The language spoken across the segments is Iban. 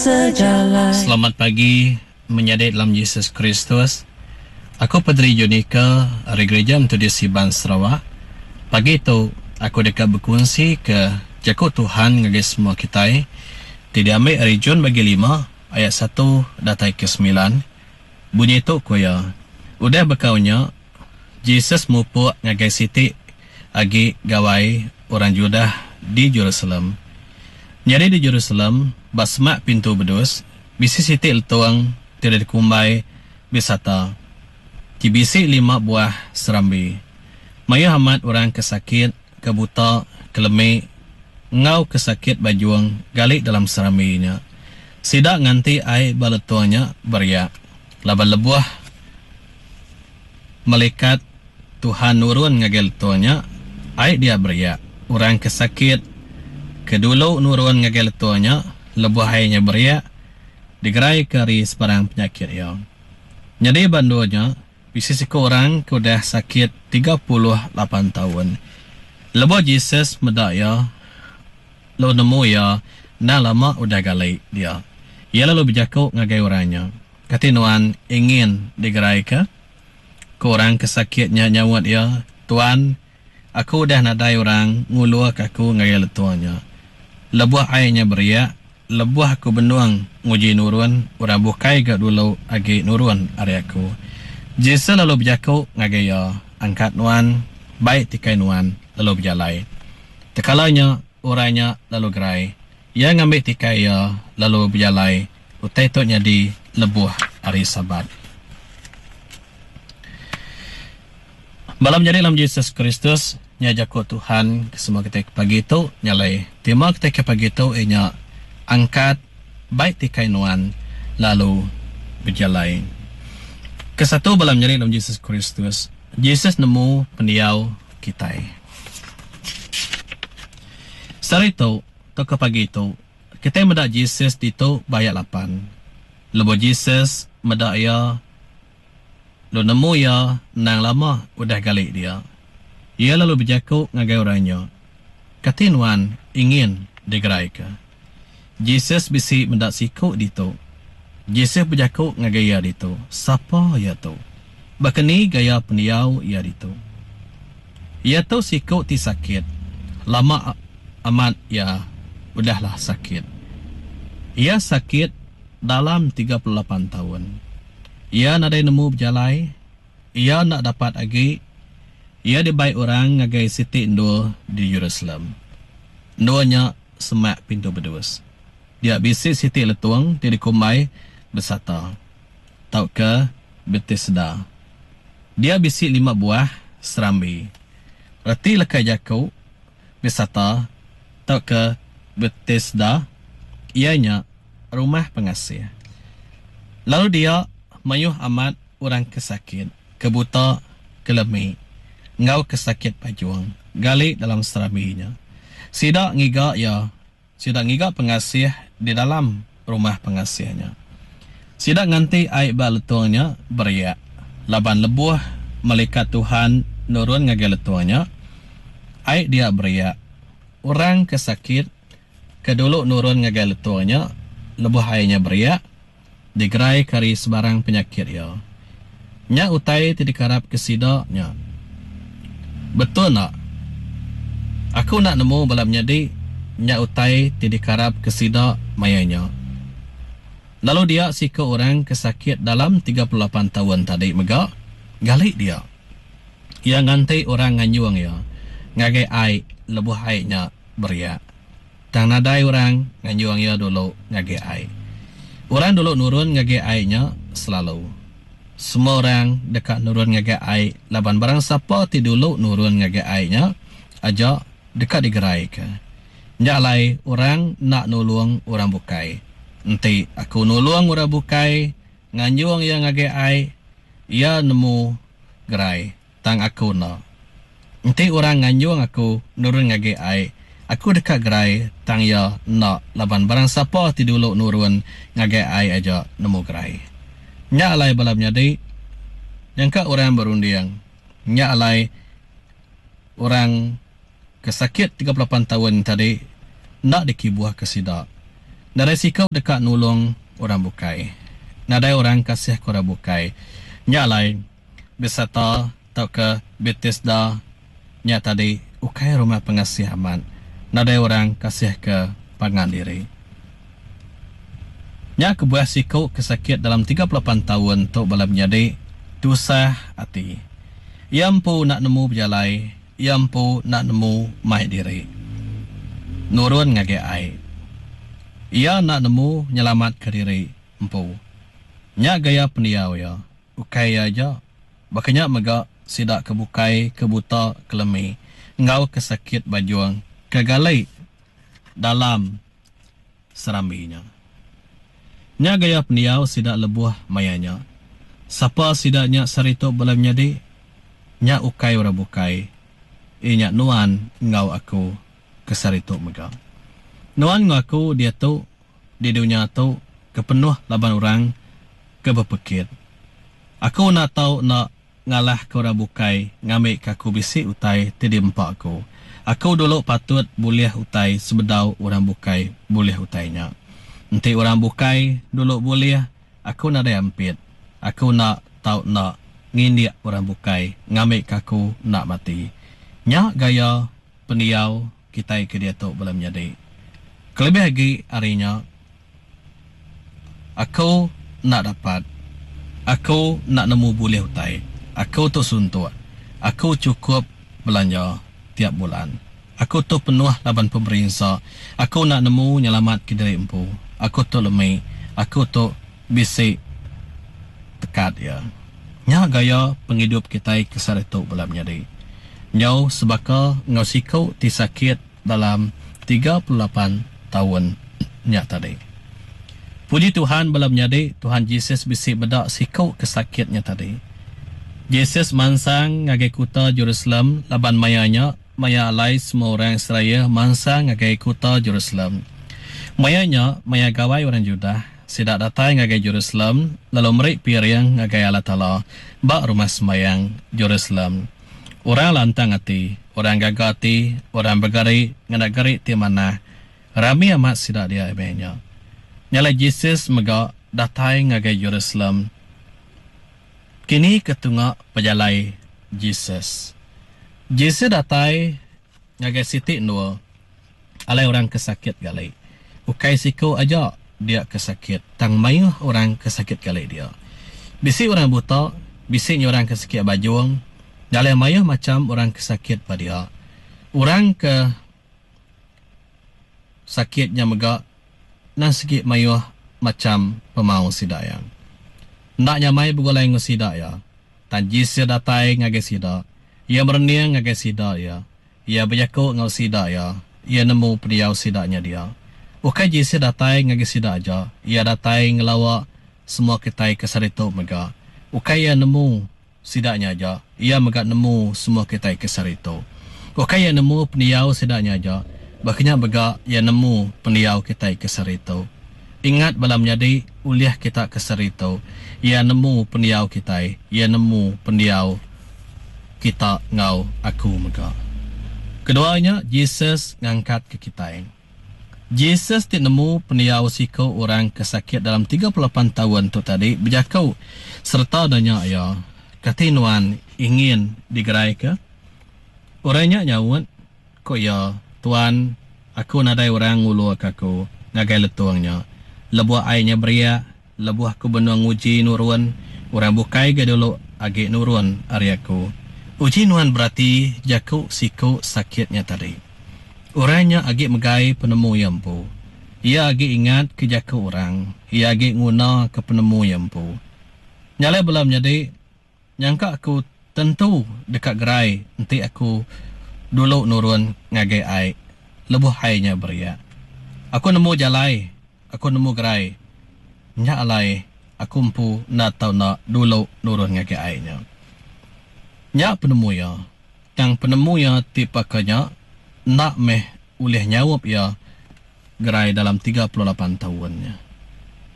sejalai. Selamat pagi menyadi dalam Jesus Kristus. Aku Padri Jonica ari Gereja Methodist Iban Sarawak. Pagi tu aku deka bekunsi ke jaku Tuhan ngagai semua kitai ti diambi ari John bagi lima ayat satu datai ke semilan. Bunyi tu ku iya, Udah bekau nya, Jesus mupuk ngagai siti agi gawai orang Judah di Jerusalem. Nyadi di Jerusalem, ba semak Pintu Bedus, bisi siti letung ti udah dikumbai Besata, ti bisi lima buah serambi. Mayuh amat orang ke sakit, ke buta, ke lemi, enggau ke sakit bajung gali dalam serambi nya. Sida nganti ai ba letung nya beriak, laban lebuh melikat Tuhan nurun ngagai letung nya, ai dia beriak. Orang ke sakit ke dulu nurun ngagai letung nya lebuh ai nya beriak, digeraika ari sebarang penyakit iya. Nyadi ba endur nya, Bisi siku orang ke udah sakit 38 taun. Lebuh Jesus meda iya, lalu nemu iya endang lama udah gali dia, iya lalu bejaku ngagai orang nya, Kati nuan ingin digeraika? Ku orang ke sakit nya nyaut iya, Tuan, aku udah nadai orang ngulurka aku ngagai letung nya. Lebuh ai nya beriak, Lebuh aku benung nguji nurun, orang bukai ga dulu agi nurun ari aku. Jesus lalu bejaku ngagai iya, Angkat nuan, bai tikai nuan, lalu bejalai. Tekala nya, orang nya lalu gerai. Iya ngambi tikai iya, lalu bejalai. Utai tu nyadi lebuh Hari Sabat. Bala menyadi dalam Jesus Kristus, nya jaku Tuhan ke semua kitai ke pagi tu. Nya alai tema kitai ke pagi tu iya nya angkat bai tikai nuan lalu bejalai. Kesatu bala menyadi dalam Jesus Kristus, Jesus nemu pendiau kitai. Sehari tu tauka pagi tu, kitai meda Jesus ditu ba ayat lapan. Lebuh Jesus meda iya, Lalu nemu iya endang lama udah gali dia. Iya lalu bejaku ngagai orang nya, Kati nuan ingin digeraika? Jesus bisi meda siku ditu. Jesus bejaku ngagai iya ditu, Sapa iya tu? Baka ni gaya pendiau iya ditu? Iya tu siku ti sakit. Lama amat iya udahlah sakit. Iya sakit dalam 38 taun. Iya nadai nemu bejalai, iya enda dapat agi, iya dibai orang ngagai siti endur di Jerusalem. Endur nya semak Pintu Bedus. Dia bisi siti letung ti dikumbai Besata, tauka Betesda. Dia bisi lima buah serambi. Reti leka jaku Besata tauka Betesda iya nya Rumah Pengasih. Lalu dia mayuh amat orang ke sakit, ke buta, ke lemi, enggau ke sakit pajung gali dalam serambi nya. Sida ngiga iya, sida ngiga pengasih di dalam rumah pengasih nya. Sida nganti ai ba letung nya beriak, laban lebuh melikat Tuhan nurun ngagai letung nya, ai dia beriak. Orang ke sakit ke dulu nurun ngagai letung nya lebuh ai nya beriak, digeraika ari sebarang penyakit iya. Nya utai ti dikarapka sida nya. Betul enda? Aku enda nemu bala menyadi nya utai ti dikarapka sida maya nya. Lalu dia siku orang ke sakit dalam 38 taun tadi mega gali dia. Iya nganti orang nganjung iya ngagai ai lebuh ai nya beriak. Tang nadai orang nganjung iya dulu ngagai ai. Orang dulu nurun ngagai ai nya selalu. Semua orang deka nurun ngagai ai laban barang sapa ti dulu nurun ngagai ai nya aja deka digeraika. Nya alai orang enda nulung orang bukai. Enti aku nulung orang bukai nganjung iya ngagai ai, iya nemu gerai. Tang aku enda. Enti orang nganjung aku nurun ngagai ai, aku deka gerai, tang iya enda laban barang sapa ti dulu nurun ngagai ai aja nemu gerai. Nya alai bala menyadi, nyangka orang berunding, nya alai orang ke sakit 38 taun tadi enda dikibuhka sida. Nadai siku deka nulung orang bukai. Nadai orang kasihka orang bukai. Nya alai, Besata tauka Betesda nya tadi ukai rumah pengasih amat. Nadai orang kasihka pangan diri. Nya kebuah siku ke sakit dalam 38 taun tu bala menyadi tusah ati. Iya empu enda nemu bejalai, iya empu enda nemu mai diri nurun ngagai ai. Iya enda nemu nyelamatka diri empu. Nya gaya pendiau iya. Ukai iya aja, baka nya mega sida ke bukai ke buta, ke lemi enggau ke sakit bajung ke gali dalam serambi nya. Nya gaya pendiau sida lebuh maya nya. Sapa sida nya sehari tu bala menyadi? Nya ukai orang bukai, iya nya nuan enggau aku ke sehari tu mega. Nuan enggau aku diatu di dunya tu ke penuh laban orang ke bepekit. Aku enda tau enda ngalahka orang bukai ngambika aku bisi utai ti diempa aku. Aku dulu patut bulih utai sebedau orang bukai bulih utai nya. Enti orang bukai dulu bulih, aku nadai ampit. Aku enda tau enda ngindik orang bukai ngambika aku enda mati. Nya gaya pendiau kitai ke diatu bala menyadi. Kelebih agi ari nya, Aku enda dapat. Aku enda nemu bulih utai. Aku tu suntuk. Aku chukup belanja tiap bulan. Aku tu penuh laban pemerinsa. Aku enda nemu nyelamatka diri empu. Aku tu lemi. Aku tu bisi tekat iya. Nya gaya pengidup kitai ke sehari tu bala menyadi. Nyau sebaka enggau siku ti sakit dalam 38 taun nya tadi. Puji Tuhan bala menyadi, Tuhan Jesus bisi meda siku ke sakit nya tadi. Jesus mansang ngagai kuta Jerusalem laban maya nya maya alai semua orang Israel mansang ngagai kuta Jerusalem. Maya nya maya gawai orang Judah, sida datai ngagai Jerusalem lalu meri piring ngagai Allah Taala ba Rumah Sembayang Jerusalem. Orang lantang ati, orang gaga ati, orang begari ngena gari ti manah. Rami amat sida dia meh nya. Nya alai Jesus mega datai ngagai Jerusalem. Kini ke tunga pejalai Jesus? Jesus datai ngagai siti endur alai orang ke sakit gali. Ukai siku aja dia ke sakit tang mayuh orang ke sakit gali dia. Bisi orang buta, bisi nya orang ke sakit bajung, nya alai mayuh macham orang ke sakit ba dia. Orang ke sakit nya mega endang sigi mayuh macham pemau sida iya. Enda nyamai begulai enggau sida iya. Tang Jesus datai ngagai sida. Iya merening ngagai sida iya. Iya bejaku enggau sida iya. Iya nemu pendiau sida nya dia. Ukai Jesus datai ngagai sida aja, iya datai ngelawa semua kitai ke sehari tu mega. Ukai iya nemu sida nya aja, iya mega nemu semua kitai ke sehari tu. Ukai iya nemu pendiau sida nya aja, baka nya mega iya nemu pendiau kitai ke sehari tu. Ingat bala menyadi ulih kita ke sehari tu, iya nemu pendiau kitai, iya nemu pendiau kita enggau aku mega. Kedua nya, Jesus ngangkatka kitai. Jesus ti nemu pendiau siku orang ke sakit dalam 38 taun tu tadi bejaku sereta nanya iya, Kati nuan ingin digeraika? Orang nya nyaut, ku iya, Tuan, aku nadai orang nguluka aku ngagai letung nya. Lebuh ai nya beriak, Lebuh aku benung nguji nurun, orang bukai ga dulu agi nurun ari aku. Uji nuan berati jaku siku sakit nya tadi. Orang nya agi megai penemu iya empu. Iya agi ingatka jaku orang. Iya agi ngunaka penemu iya empu. Nya alai bala menyadi. Nyangka aku tentu deka gerai enti aku dulu nurun ngagai ai lebuh ai nya beriak. Aku nemu jalai, aku nemu gerai. Nya alai aku empu enda tau enda dulu nurun ngagai ai nya. Nya penemu iya. Tang penemu iya ti baka nya enda meh ulih nyaup iya gerai dalam 38 taun nya.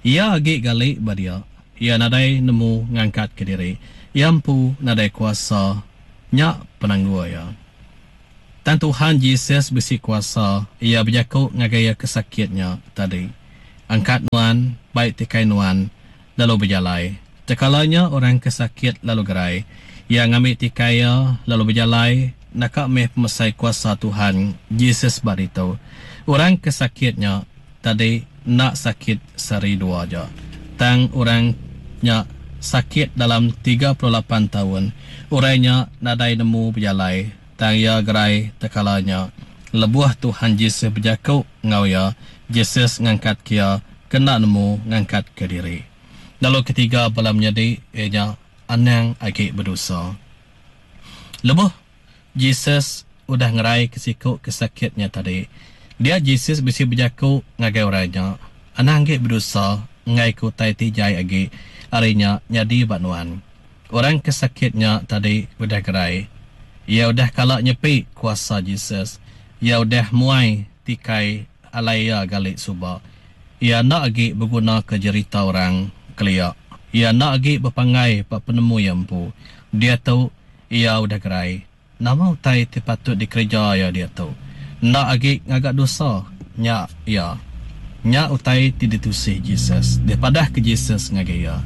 Iya agi gali ba dia. Iya nadai nemu ngangkatka diri. Iya empu nadai kuasa. Nya penanggul iya. Tang Tuhan Jesus bisi kuasa, iya bejaku ngagai iya ke sakit nya tadi. Angkat nuan, bai tikai nuan, lalu bejalai. Tekala nya orang ke sakit lalu gerai. Iya ngambi tikai iya, lalu bejalai, naka meh pemesai kuasa Tuhan Jesus ba ditu. Orang ke sakit nya tadi enda sakit sehari dua aja, tang orang nya sakit dalam 38 taun. Orang nya nadai nemu bejalai, tang iya gerai tekala nya. Lebuh Tuhan Jesus bejaku enggau iya, Jesus ngangkatka iya ke enda nemu ngangkatka diri. Lalu ketiga bala menyadi iya nya anang agi bedosa. Lebuh Jesus udah ngeraika siku ke sakit nya tadi, dia Jesus bisi bejaku ngagai orang nya, Anang agi bedosa enggaika utai ti jai agi ari nya nyadi ba nuan. Orang ke sakit nya tadi udah gerai. Iya udah kala nyepi kuasa Jesus. Iya udah muai tikai alai iya gali suba. Iya enda agi begunaka jerita orang kelia. Iya enda agi bepanggai ba penemu iya empu. Diatu, iya udah gerai. Nama utai ti patut dikereja iya diatu? Enda agi ngaga dosa. Nya iya. Nya utai ti ditusi Jesus, dipadahka Jesus ngagai iya.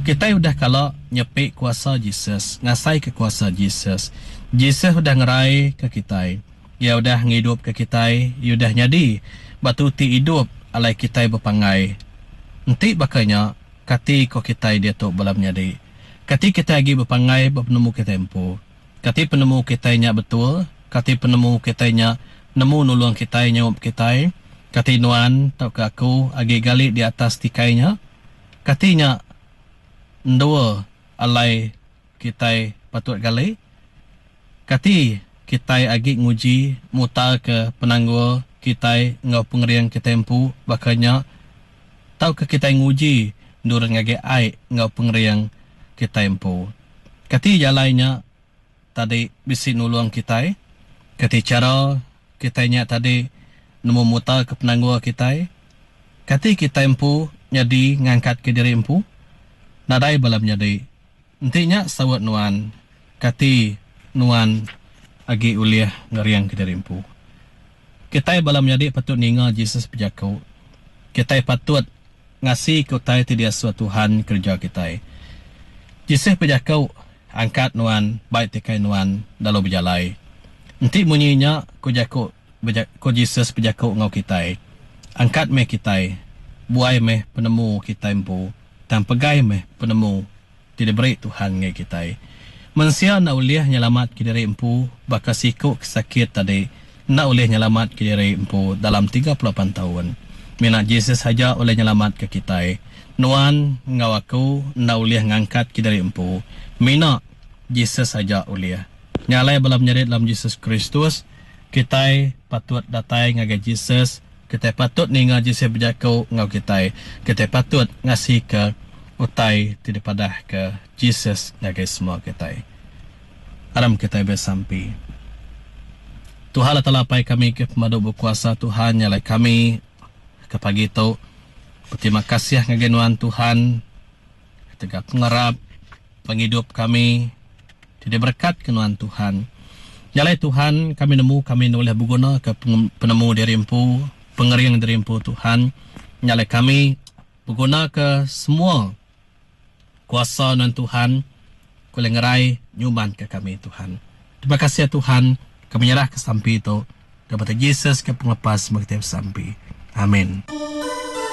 Kitai udah kala nyepi kuasa Jesus, ngasaika kuasa Jesus. Jesus udah ngeraika kitai. Iya udah ngidupka kitai. Iya udah nyadi batu ti idup alai kitai bepanggai. Enti baka nya, kati ko kitai diatu bala menyadi? Kati kitai agi bepanggai ba penemu kitai empu? Kati penemu kitai nya betul? Kati penemu kitai nya nemu nulung kitai nyaup kitai? Kati nuan tauka aku agi gali di atas tikai nya? Kati nya endur alai kitai patut gali? Kati kitai agi nguji mutarka penanggul kitai enggau pengering kitai empu baka nya? Tauka kitai nguji nurun ngagai ai enggau pengering kitai empu? Kati jalai nya tadi bisi nulung kitai? Kati chara kitai nya tadi nemu mutarka penanggul kitai? Kati kitai empu nyadi ngangkatka diri empu? Nadai bala menyadi. Enti nya saut nuan, kati nuan agi ulih ngeringka diri empu? Kitai bala menyadi patut ninga Jesus bejaku. Kitai patut ngasika utai ti diasuh Tuhan kereja kitai. Jesus bejaku, Angkat nuan, bai tikai nuan, lalu bejalai. Enti munyi nya, ku jaku ku Jesus bejaku enggau kitai, Angkat meh kitai, buai meh penemu kitai empu, tang pegai meh penemu ti diberi Tuhan ngagai kitai. Mensia enda ulih nyelamatka diri empu baka siku ke sakit tadi enda ulih nyelamatka diri empu dalam 38 taun. Mina Jesus aja ulih nyelamatka kitai. Nuan enggau aku enda ulih ngangkatka diri empu. Mina Jesus aja ulih. Nya alai bala menyadi dalam Jesus Kristus, kitai patut datai ngagai Jesus Kitai patut ninga Jesus bejaku enggau kitai. Kitai patut ngasika utai ti dipadahka Jesus ngagai semua kitai. Aram kitai besampi. Tuhan Allah Taala Apai kami ke pemadu bekuasa Tuhan nya alai kami ke pagi tu beterima kasih ngagai nuan Tuhan ketegal pengarap pengidup kami ti diberekatka nuan Tuhan. Nya alai Tuhan, kami nemu kami enda ulih begunaka penemu diri empu, pengering diri empu Tuhan. Nya alai kami begunaka semua kuasa nuan Tuhan ke ulih ngerai nyumanka kami Tuhan. Terima kasih Tuhan, kami nyerahka sampi tu dalam Jesus ke pengelepas semua kitai besampi. Amin.